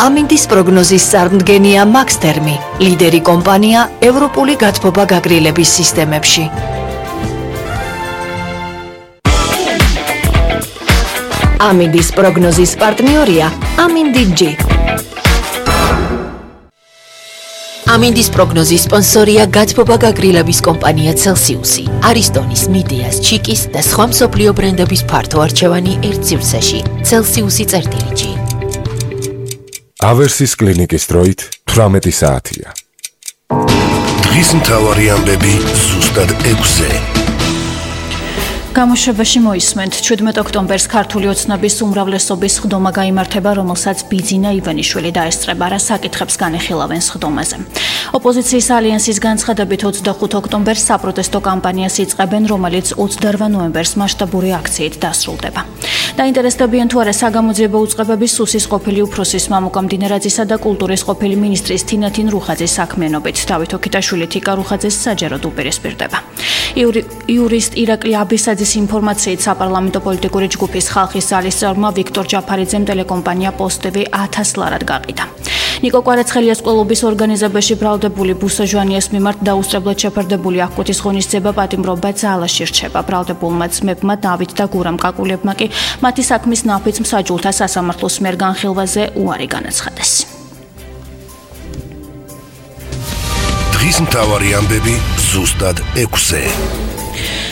ამინდის პროგნოზის წარმდგენია მაქსთერმი, ლიდერი კომპანია ევროპული გათბობა გაგრილების სისტემებში. ამინდის პროგნოზის პარტნიორია ამინდი-G. ამინდის პროგნოზის სპონსორია გათბობა გაგრილების კომპანია Celsius-ი, არისტონის, მიდეას, ჩიკის და სხვა მსოფლიო ბრენდების ფართო არჩევანი ერთ სივრცეში. Celsius-ი წერტილი-G. ავერსის კლინიკის დროით 18 საათია. დღის მთავარი ამბები ზუსტად 6-ზე. გამოშვებაში მოისმენთ 17 ოქტომბერს ქართული ოცნების უმრავლესობის სხდომა გაიმართება, რომელსაც ბიძინა ივანიშვილი დაესწრება, რა საკითხებს განეხილავენ სხდომაზე. ოპოზიციის ალიანსის განცხადებით 25 ოქტომბერს საპროტესტო კამპანიას იწყებენ, რომელიც 28 ნოემბერს მასშტაბური აქციით დასრულდება. დაინტერესდებიან თუ არა საგამოძიებო უწყებების სუსის ყოფილი უფროსის მამუკა მდინარაძისა და კულტურის ყოფილი მინისტრის თინათინ რუხაძის საქმიანობით. დავით ოქიტაშვილი თიკა რუხაძეს საჯაროდ უპირისპირდება. იურისტ ირაკლი აბისაძის ინფორმაციით საპარლამენტო პოლიტიკური ჯგუფის ხალხის ზალის წევრმა ვიქტორ ჯაფარიძემ ტელეკომპანია პოსტ-TV 1000 ლარად გაყიდა. ნიკო კვარაცხელიას კლუბის ორგანიზებაში ბრალდებული ბუსაჟვანიას მიმართ დაუსწრებლად შეფარდებული აღკვეთის ღონისძიება პატიმრობა ძალაში რჩება. ბრალდებულმა ძმებმა დავით და გურამ კაკულებმა კი მათი საქმის ნაფიც მსაჯულთა სასამართლოს მიერ განხილვაზე უარი განაცხადეს. დღის მთავარი ამბები ზუსტად 6-ზე.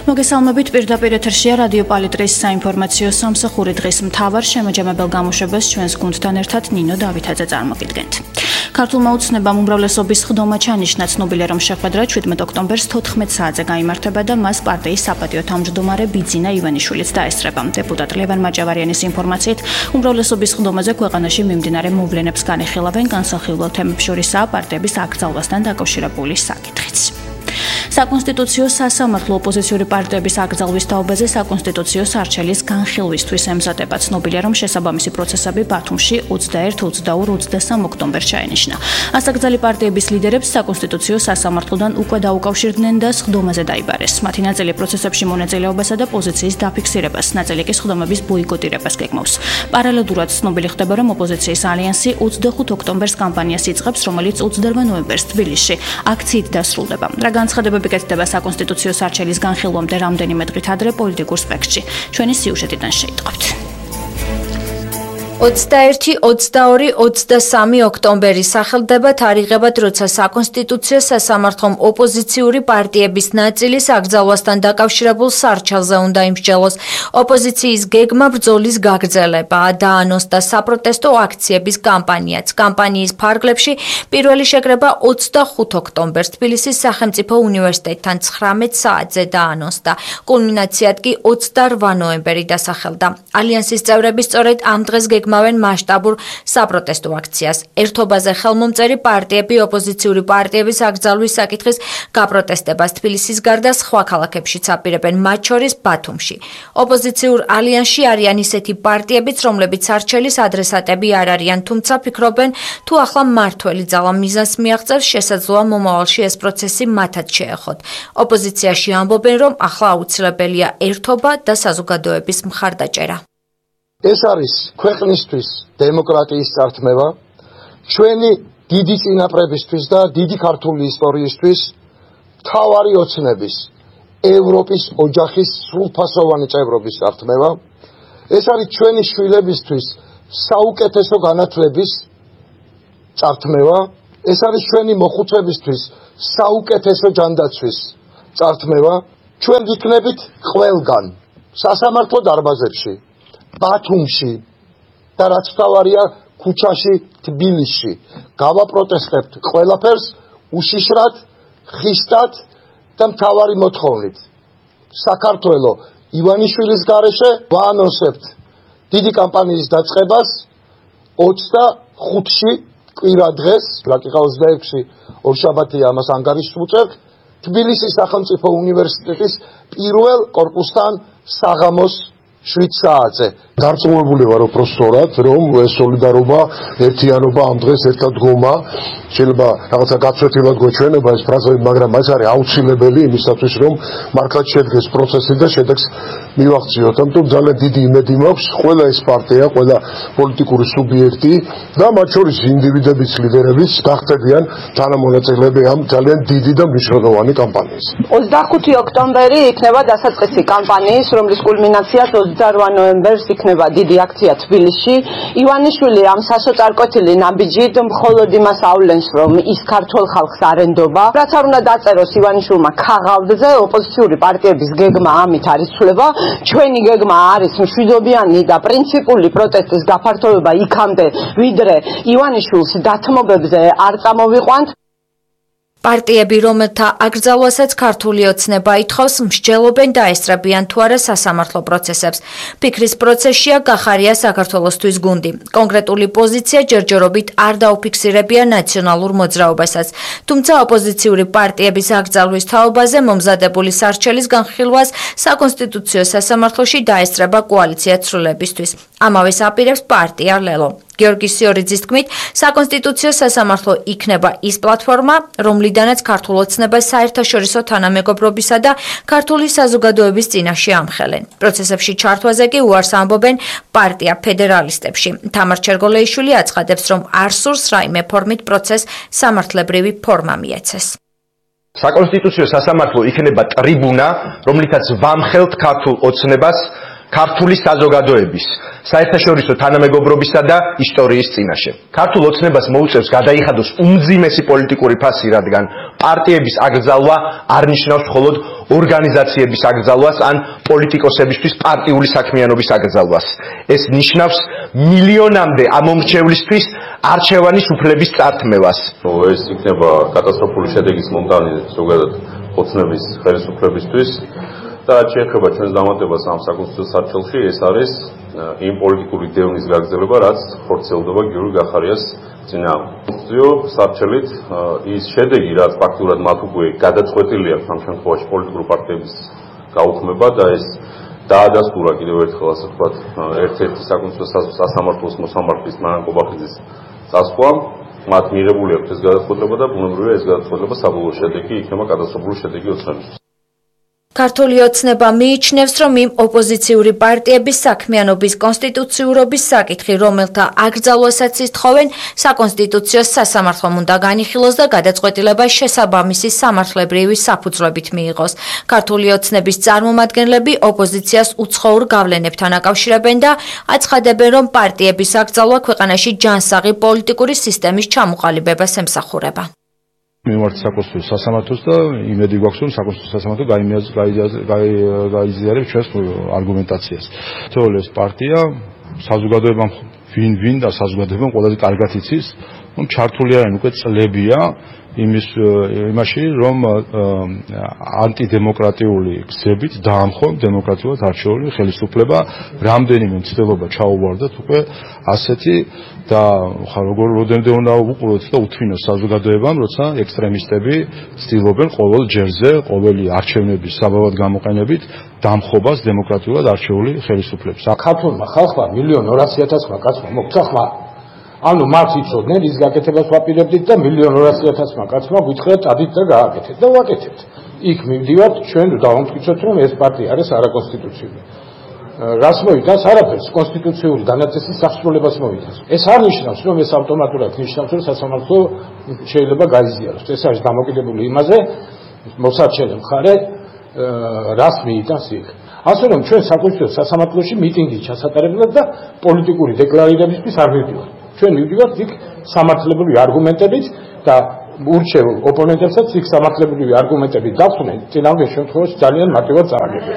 მოგესალმებით, პირდაპირ ეთერშია რადიო პალიტრის საინფორმაციო სამსახური. დღის მთავარ შემაჯამებელ გამოშვებას ჩვენს გუნდთან ერთად ნინო დავითაძე წარმოგიდგენთ. ქართულმა ოცნებამ უმრავლესობის სხდომა ჩანიშნა, ცნობილია, რომ შეხვედრა 17 ოქტომბერს 14 საათზე გაიმართება და მას პარტიის საპატიო თავმჯდომარე ბიძინა ივანიშვილიც დაესწრება. დეპუტატ ლევან მაჭავარიანის ინფორმაციით, უმრავლესობის სხდომაზე ქვეყანაში მიმდინარე მოვლენებს განეხილავენ, განსახილველ თემებს შორისაა პარტიების აკრძალვასთან დაკავშირებული საკითხიც. საკონსტიტუციო სასამართლო ოპოზიციური პარტიების აკრძალვის თაობაზე საკონსტიტუციო სარჩელის განხილვისთვის ემზადება. ცნობილია, რომ შესაბამისი პროცესები ბათუმში 21, 22, 23 ოქტომბერს ჩაენიშნა. ასაკრძალი პარტიების ლიდერებს საკონსტიტუციო სასამართლოდან უკვე დაუკავშირდნენ და სხდომაზე დაიბარეს. მათი ნაწილი პროცესებში მონაწილეობასა და პოზიციის დაფიქსირებას, ნაწილი კი სხდომების ბოიკოტირებას გეგმავს. პარალელურად ცნობილი ხდება, რომ ოპოზიციის ალიანსი 25 ოქტომბერს კამპანიას იწყებს, რომელიც 28 ნოემბერს თბილისში აქციით დასრულდება. რა განცხადებები გეცდება საკონსტიტუციო სარჩელის განხილვამდე რამდენიმე დღით ადრე პოლიტიკურ სპექტრში. ჩვენი სიუჟეტიდან შეიტყობთ. 21, 22, 23 ოქტომბერი სახელდება თარიღებად, როცა საკონსტიტუციო სასამართლომ ოპოზიციური პარტიების ნაწილის აკრძალვასთან დაკავშირებულ სარჩელზე უნდა იმსჯელოს. ოპოზიციის გეგმა ბრძოლის გაგრძელებაა, დაანონსდა საპროტესტო აქციების კამპანიაც. კამპანიის ფარგლებში პირველი შეკრება 25 ოქტომბერს თბილისის სახელმწიფო უნივერსიტეტთან 19 საათზე დაანონსდა. კულმინაციად კი 28 ნოემბერი დასახელდა. ალიანსის წევრები სწორედ ამ დღეს გეგმავენ მასშტაბურ საპროტესტო აქციას. ერთობაზე ხელმომწერი პარტიები ოპოზიციური პარტიების აკრძალვის საკითხის გაპროტესტებას თბილისის გარდა სხვა ქალაქებშიც აპირებენ, მათ შორის ბათუმში. ოპოზიციურ ალიანსში არიან ისეთი პარტიებიც, რომლებიც სარჩელის ადრესატები არ არიან, თუმცა ფიქრობენ, თუ ახლა მმართველი ძალა მიზანს მიაღწევს, შესაძლოა მომავალში ეს პროცესი მათაც შეეხოთ. ოპოზიციაში ამბობენ, რომ ახლა აუცილებელია ერთობა და საზოგადოების მხარდაჭერა. ეს არის ქვეყნისთვის დემოკრატიის წართმევა, ჩვენი დიდი წინაპრებისთვის და დიდი ქართული ისტორიისთვის მთავარი ოცნების, ევროპის ოჯახის სრულფასოვანი წევრობის წართმევა. ეს არის ჩვენი შვილებისთვის საუკეთესო განათლების წართმევა. ეს არის ჩვენი მოხუცებისთვის საუკეთესო ჯანდაცვის წართმევა. ჩვენ ვიქნებით ყველგან, სასამართლო დარბაზებში, ბათუმში და რაც თავარია ქუჩაში, თბილისში. გავაპროტესტებთ ყველაფერს უშიშრად, ხისტად და მთავარი მოთხოვნით. საქართველო ივანიშვილის გარეშე ვაანონსებთ დიდი კამპანიის დაწყებას 25-ში კვირა დღეს, რაკიღა 26-ი ორშაბათია, ამას ანგარიშს ვუწევთ, თბილისის სახელმწიფო უნივერსიტეტის პირველ კორპუსთან საღამოს 7 საათზე. დარწმუნებული ვარ უბრალოდ, რომ ეს სოლიდარობა, ერთიანობა ამ დღეს ერთად დგომა შეიძლება რაღაცა გაცვეთილად გვეჩვენება ეს ფრაზები, მაგრამ ეს არის აუცილებელი იმისათვის, რომ მართლაც შედგეს პროცესი და შედეგს მივაღწიოთ. ამიტომ ძალიან დიდი იმედი მაქვს, ყველა ეს პარტია, ყველა პოლიტიკური სუბიექტი და მათ შორის ინდივიდების ლიდერებიც გახდებიან თანამონაწილეები ამ ძალიან დიდი და მნიშვნელოვანი კამპანიის. 25 ოქტომბერი იქნება დასაწყისი კამპანიის, რომლის კულმინაციაც 28 ნოემბერს იქნება დიდი აქცია თბილისში. ივანიშვილი ამ სასოწარკვეთილი ნაბიჯით მხოლოდ იმას ავლენს, რომ ის ქართულ ხალხს არ ენდობა. რაც არ უნდა დაწეროს ივანიშვილმა ქაღალდზე, ოპოზიციური პარტიების გეგმა ამით არ იცვლება. ჩვენი გეგმა არის მშვიდობიანი და პრინციპული პროტესტის გაფართოვება იქამდე, ვიდრე ივანიშვილს დათმობებზე არ წამოვიყვანთ. პარტიები, რომელთა აკრძალვასაც ქართული ოცნება ითხოვს, მსჯელობენ დაესწრებიან თუ არა სასამართლო პროცესებს. ფიქრის პროცესშია გახარია საქართველოსთვის გუნდი. კონკრეტული პოზიცია ჯერჯერობით არ დაუფიქსირებია ნაციონალურ მოძრაობასაც. თუმცა ოპოზიციური პარტიების აკრძალვის თაობაზე მომზადებული სარჩელის განხილვას საკონსტიტუციო სასამართლოში დაესწრება კოალიცია ცვლილებისთვის. ამავეს აპირებს პარტია ლელო. გიორგი სიორიძის თქმით, საკონსტიტუციო სასამართლო იქნება ის პლატფორმა, რომლიდანაც ქართულ ოცნებას საერთაშორისო თანამეგობრობისა და ქართული საზოგადოების წინაშე ამხელენ. პროცესებში ჩართვაზე კი უარს ამბობენ პარტია ფედერალისტებში. თამარ ჩერგოლეიშვილი აცხადებს, რომ არ სურს რაიმე ფორმით პროცესს სამართლებრივი ფორმა მიეცეს. საკონსტიტუციო სასამართლო იქნება ტრიბუნა, რომლითაც ვამხელთ ქართულ ოცნებას ქართული საზოგადოების, საერთაშორისო თანამეგობრობისა და ისტორიის წინაშე. ქართულ ოცნებას მოუწევს გადაიხადოს უმძიმესი პოლიტიკური ფასი, რადგან პარტიების აკრძალვა არ ნიშნავს მხოლოდ ორგანიზაციების აკრძალვას ან პოლიტიკოსებისთვის პარტიული საქმიანობის აკრძალვას. ეს ნიშნავს მილიონამდე ამომრჩევლისთვის არჩევანის უფლების წართმევას. ეს იქნება კატასტროფული შედეგის მომტანი ზოგადად ოცნების ხელისუფლებისთვის. და რაც შეეხება ჩვენს დამატებას ამ საკონსტიტუციო სარჩელში, ეს არის იმ პოლიტიკური დევნის გაგრძელება, რაც ხორციელდება გიორგი გახარიას წინააღმდეგ. კონსტიტუციო სარჩელით ის შედეგი, რაც ფაქტურად მათ უკვე გადაწყვეტილი აქვს ამ შემთხვევაში პოლიტიკური პარტიების გაუქმება და ეს დაადასტურა კიდევ ერთხელ ასე ვთქვათ ერთ-ერთი საკონსტიტუციო სასამართლოს მოსამართლის მარან ყობახიძის წასვლა, მათ მიღებული აქვს ეს გადაწყვეტილება და ბუნებრივია ეს გადაწყვეტილება საბოლოო შედეგი იქნება კატასტროფული შედეგი ოცნებისთვის. ქართული ოცნება მიიჩნევს, რომ იმ ოპოზიციური პარტიების საქმიანობის კონსტიტუციურობის საკითხი, რომელთა აკრძალვასაც ითხოვენ, საკონსტიტუციო სასამართლომ უნდა განიხილოს და გადაწყვეტილება შესაბამისი სამართლებრივი საფუძვლებით მიიღოს. ქართული ოცნების წარმომადგენლები ოპოზიციას უცხოურ გავლენებთან აკავშირებენ და აცხადებენ, რომ პარტიების აკრძალვა ქვეყანაში ჯანსაღი პოლიტიკური სისტემის ჩამოყალიბებას ემსახურება. მივართ საკონსტიტუციო სასამართლოს და იმედი გვაქვს, რომ საკონსტიტუციო სასამართლო გაიზიარებს ჩვენს არგუმენტაციას. თორემ ეს პარტია საზოგადოებამ ვინ და საზოგადოებამ ყველაზე კარგად იცის, რომ ჩართული არიან უკვე წლებია იმაში, რომ ანტიდემოკრატიული გზებით დაამხო დემოკრატიულად არჩეული ხელისუფლება, რამდენიმე მცდელობა ჩაუვარდათ უკვე ასეთი და როგორ უნდა უყუროთ და უთვინოს საზოგადოებამ, როცა ექსტრემისტები ცდილობენ ყოველ ჯერზე, ყოველი არჩევნების საბაბად გამოყენებით დამხობას დემოკრატიულად არჩეული ხელისუფლების. ქართულმა ხალხმა 1.200.000 კაცმა მოგვცა ხმა. ანუ მათ იცოდნენ ის გაკეთებას ვაპირებდით და 1.200.000 კაცმა გითხრათ ადით და გააკეთეთ და ვაკეთებთ. იქ მივდივართ, ჩვენ დავამტკიცოთ, რომ ეს პარტია არის არაკონსტიტუციური. რას მოიტანს? არაფერს, კონსტიტუციური განათესის სასრულებას მოიტანს. ეს არ ნიშნავს, რომ ეს ავტომატურად ნიშნავს, რომ სასამართლო შეიძლება გაიზიაროს. ეს არის დამოკიდებული იმაზე, მოსარჩენე მხარე რას მიიტანს იქ. ასე რომ ჩვენ საკონსტიტუციო სასამართლოში მიტინგი ჩასატარებლად და პოლიტიკური დეკლარირებისთვის არ მივდივართ. ჩვენ მივდივართ იქ სამართლებრივი არგუმენტებით და ურჩეულ ოპონენტებსაც იქ სამართლებრივი არგუმენტები დახვდნენ, წინააღმდეგ შემთხვევაში ძალიან მარტივად წარაგებენ.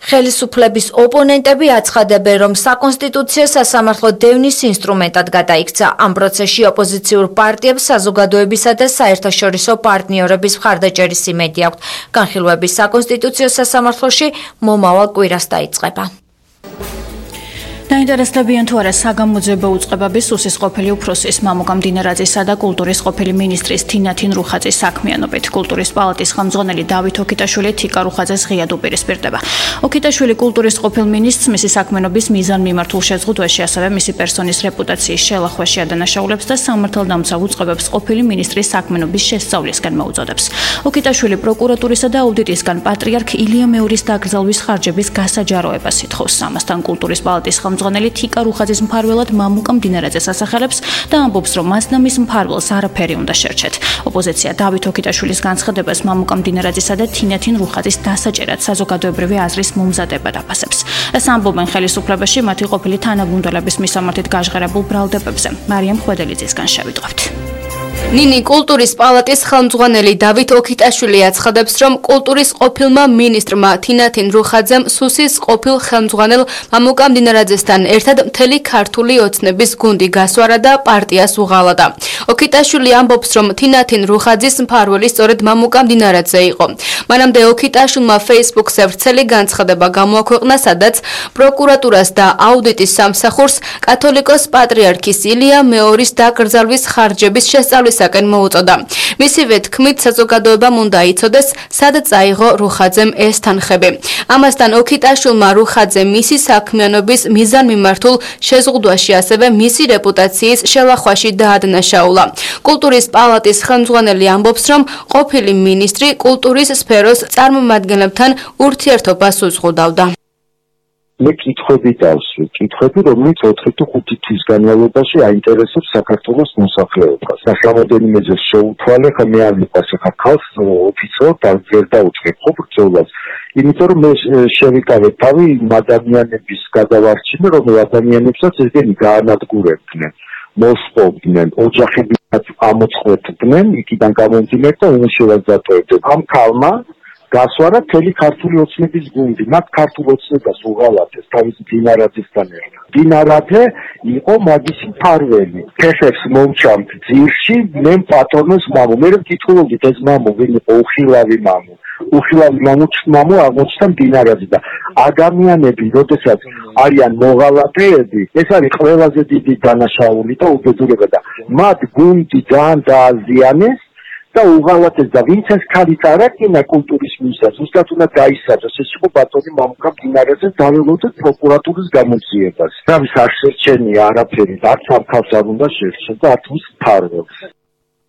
ხელისუფლების ოპონენტები აცხადებენ, რომ საკონსტიტუციო სასამართლო დევნის ინსტრუმენტად გადაიქცა. ამ პროცესში ოპოზიციურ პარტიებს საზოგადოებისა და საერთაშორისო პარტნიორების მხარდაჭერის იმედი აქვთ. განხილვები საკონსტიტუციო სასამართლოში მომავალ კვირას დაიწყება. დაინტერესდებიან თუ არა საგამოძიებო უწყებების სუსის ყოფილი უფროსის მამუკა მდინარაძისა და კულტურის ყოფილი მინისტრის თინათინ რუხაძის საქმიანობით. კულტურის პალატის ხელმძღვანელი დავით ოქიტაშვილი თიკა რუხაძეს ღიად უპირისპირდება. ოქიტაშვილი კულტურის ყოფილ მინისტრს მისი საქმიანობის მიზანმიმართულ შეზღუდვაში, ასევე მისი პერსონის რეპუტაციის შელახვაში ადანაშაულებს და სამართალდამცავ უწყებებს ყოფილი მინისტრის საქმიანობის შესწავლისკენ მოუწოდებს. ოქიტაშვილი პროკურატურისა და აუდიტისგან პატრიარქ ილია მეორის დაკრძალვის ხარჯების გასაჯაროებას ითხოვს. ამასთან კულტურის პალატის ხელმძღვანელი თიკა რუხაძის მფარველად მამუკა მდინარაძეს ასახელებს და ამბობს, რომ მას და მის მფარველს არაფერი უნდა შერჩეთ. ოპოზიცია დავით ოქიტაშვილის განცხადებას მამუკა მდინარაძისა და თინათინ რუხაძის დასაჭერად საზოგადოებრივი აზრის მომზადებად აფასებს. ეს ამბობენ ხელისუფლებაში მათი ყოფილი თანაგუნდელების მისამართით გაჟღერებულ ბრალდებებზე. მარიამ ხვედელიძისგან შევიტყვევთ. ნინი კულტურის პალატის ხელმძღვანელი დავით ოქიტაშვილი აცხადებს, რომ კულტურის ყოფილმა მინისტრმა თინათინ რუხაძემ სუსის ყოფილ ხელმძღვანელ მამუკა მდინარაძესთან ერთად მთელი ქართული ოცნების გუნდი გასვარა და პარტიას უღალატა. ოქიტაშვილი ამბობს, რომ თინათინ რუხაძის მფარველი სწორედ მამუკა მდინარაძე იყო. მანამდე ოქიტაშვილმა Facebook-ზე ვრცელი განცხადება გამოაქვეყნა, სადაც პროკურატურას და აუდიტის სამსახურს კათოლიკოს პატრიარქის ილია მეორის დაკრძალვის ხარჯების შესწავლისაკენ მოუწოდა. მისივე თქმით, საზოგადოებამ უნდა იცოდეს, სად წაიღო რუხაძემ ეს თანხები. ამასთან ოქიტაშვილმა რუხაძე მისი საქმიანობის მიზანმიმართულ შეზღუდვაში, ასევე მისი რეპუტაციის შელახვაში დაადანაშაულა. კულტურის პალატის ხელმძღვანელი ამბობს, რომ ყოფილი მინისტრი კულტურის სფეროს წარმომადგენლებთან ურთიერთობას უზღუდავდა. მე კითხვები დავსვი, კითხვები, რომელიც 4 თუ 5 თვის განმავლობაში აინტერესებს საქართველოს მოსახლეობას. და შემოდენიმეზე შეუთვალე, ხა მე არ მიყვარს ხა ქალს ოფიციალურად და ვერ დავუწყებ ხო ბრძოლას. იმიტომ რომ მე შევიკავე თავი ადამიანების გადავარჩინე, რომ ადამიანებსაც ესენი გაანადგურებდნენ, მოსპობდნენ, ოჯახები ამოწყვეტდნენ, იქიდან გამომდინარე და უმუშევრად დატოვებდნენ. ამ ქალმა გასვარა მთელი ქართული ოცნების გუნდი, მათ ქართულ ოცნებას უღალატეს თავის დინარაძესთან ერთად. დინარაძე იყო მაგისი მფარველი. ფეხებს მომჩამთ ძირში, მე პატრონოს მამო. მე ვკითხულობდით ეს მამო ვინ იყო, უხილავი მამო. უხილავი მამო აღმოჩნდა დინარაძე და ადამიანები, როდესაც არიან მოღალატეები, ეს არის ყველაზე დიდი დანაშაული და უბედურება და მათ გუნდი ძალიან დააზიანეს. და უღალატეს და ვინც ეს ქალი წარაკინა კულტურის მინისტრს, ზუსტად უნდა დაისაჯოს. ეს იყო ბატონი მამუკა მდინარაძე, დაველოდოთ პროკურატურის გამოძიებას. თავის არ შერჩენია არაფერი, არც ამ ქალს არ უნდა შერჩენ და არც მის მფარველს.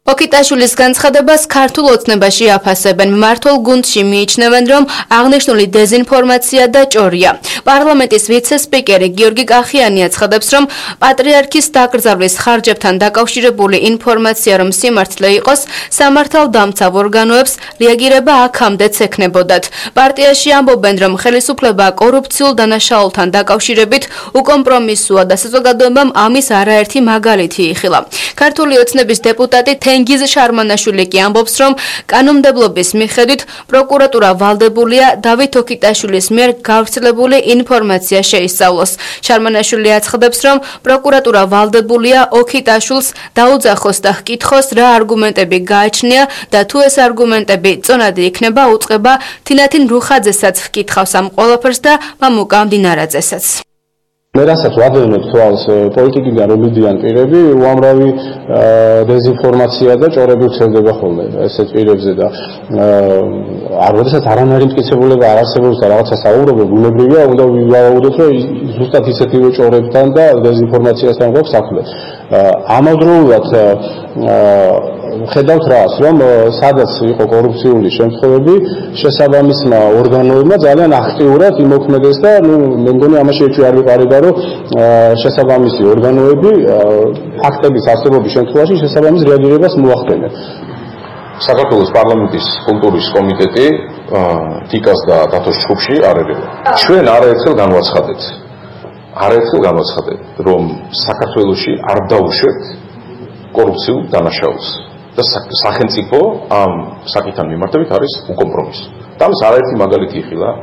ოქიტაშვილის განცხადებას ქართულ ოცნებაში აფასებენ. მმართველ გუნდში მიიჩნევენ, რომ აღნიშნული დეზინფორმაცია და ჭორია. პარლამენტის ვიცე-სპიკერი გიორგი კახიანი აცხადებს, რომ პატრიარქის დაკრძალვის ხარჯებთან დაკავშირებული ინფორმაცია რომ სიმართლე იყოს, სამართალდამცავ ორგანოებს რეაგირება აქამდეც ექნებოდათ. პარტიაში ამბობენ, რომ ხელისუფლება კორუფციულ დანაშაულთან დაკავშირებით უკომპრომისოა და საზოგადოებამ ამის არაერთი მაგალითი იხილა. ქართული ოცნების დეპუტატი თენგიზ შარმანაშვილი კი ამბობს, რომ კანონმდებლობის მიხედვით პროკურატურა ვალდებულია დავით ოქიტაშვილის მიერ გავრცელებული ინფორმაცია შეისწავლოს. შარმანაშვილი აცხადებს, რომ პროკურატურა ვალდებულია ოქიტაშვილს დაუძახოს და ჰკითხოს, რა არგუმენტები გააჩნია და თუ ეს არგუმენტები წონადი იქნება, უწყება თინათინ რუხაძესაც ჰკითხავს ამ ყველაფერს და მამუკა მდინარაძესაც. მე რასაც ვადევნებ თვალს პოლიტიკიდან რომ მიდიან პირები, უამრავი დეზინფორმაცია და ჭორები ვრცელდება ხოლმე ესეთ პირებზე და როდესაც არანაირი მტკიცებულება არ არსებობს და რაღაცა საუბრობენ, ბუნებრივია უნდა ვივაუდოთ, რომ ზუსტად ისეთივე ჭორებთან და დეზინფორმაციასთან გვაქვს საქმე. ამავდროულად ხედავთ რას, რომ სადაც იყო კორუფციული შემთხვევები, შესაბამისმა ორგანოებმა ძალიან აქტიურად იმოქმედეს და მე მგონი ამაში ეჭვი არ ვიყარება, რომ შესაბამისი ორგანოები ფაქტების არსებობის შემთხვევაში შესაბამის რეაგირებას მოახდენენ. საქართველოს პარლამენტის კულტურის კომიტეტი თიკას და დათოს ჯგუფში არ ერევა. ჩვენ არაერთხელ განვაცხადეთ, რომ საქართველოში არ დაუშვებთ კორუფციულ დანაშაულს და სახელმწიფო ამ საკითხთან მიმართებით არის უკომპრომისო. და ამის არაერთი მაგალითი იხილა